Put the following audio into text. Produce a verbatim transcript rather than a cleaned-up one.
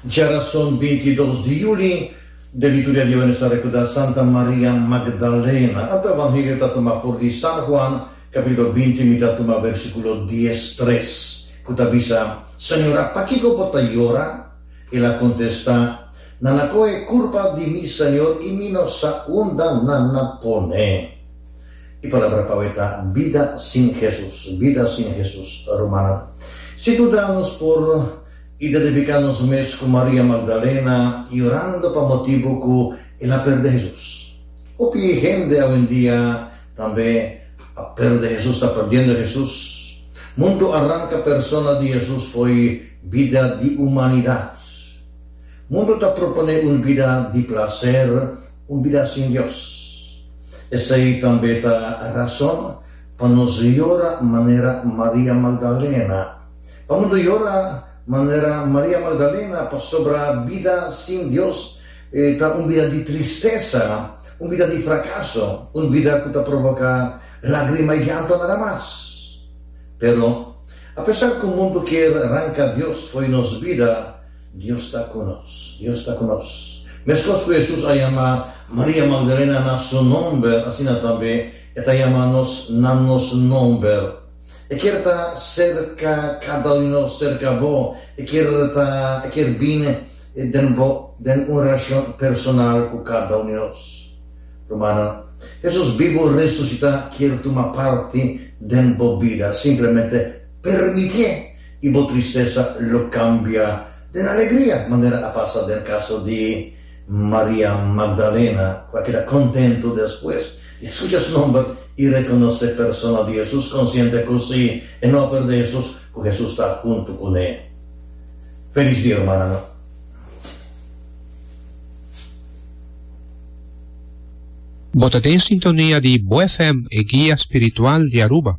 Djarason binti dos di juli, den liturgia di awe nos ta recorda Santa Maria Magdalena. Anto Evangelio ta tuma for di San Juan, capitulo binti, mi ta tuma versiculo dies tres, cu ta bisa, Señora, pakico bo ta yora? El a contesta, Nan a coge curpa di mi Señor y mi no sa unda nan a pone. E palabra pa awe ta bida sin Jesus, bida sin Jesus, rumannan. Sin duda nos por identifica nos mes cu Maria Magdalena yorando pa motibo cu el a perde Jesus. Hopi hende awendia tambe a perde Jesus, ta perdiendo Jesus. Mundo a ranca persona di Jesus fo'i bida di humanidad. Mundo ta propone un bida di placer, un bida sin Dios. Esey tambe ta rason pa nos yora manera Maria Magdalena. Pa mundo yora manera Maria Magdalena pasobra bida sin Dios ta un bida di tristesa, un bida di fracaso, un bida cu ta provoca lagrima y llanto nada mas. Pero, apesar cu mundo kier ranca Dios fo'i nos bida, Dios ta cu nos. Dios ta cu nos. Mescos cu Jesus a yama Maria Magdalena na su nomber, asina tambe E ta yama nos na nos nomber. E kier ta cerca cada un di nos, cerca bo. E kier ta, e kier bin den bo, den un relacion personal cu cada un di nos. Rumannan, Jesus bibo resucita kier tuma parti den bo bida. Simplemente permitié y bo tristesa lo cambia den alegria, manera a pasa den caso di Maria Magdalena, cu a keda contento despues di a scucha su nomber y reconoce persona di Jesus, consciente cu si e no a perde Jesus, cu Jesus ta hunto cu ne. Feliz dia, rumannan. Bo ta den sintonia di Bo F M, e guia spiritual di Aruba.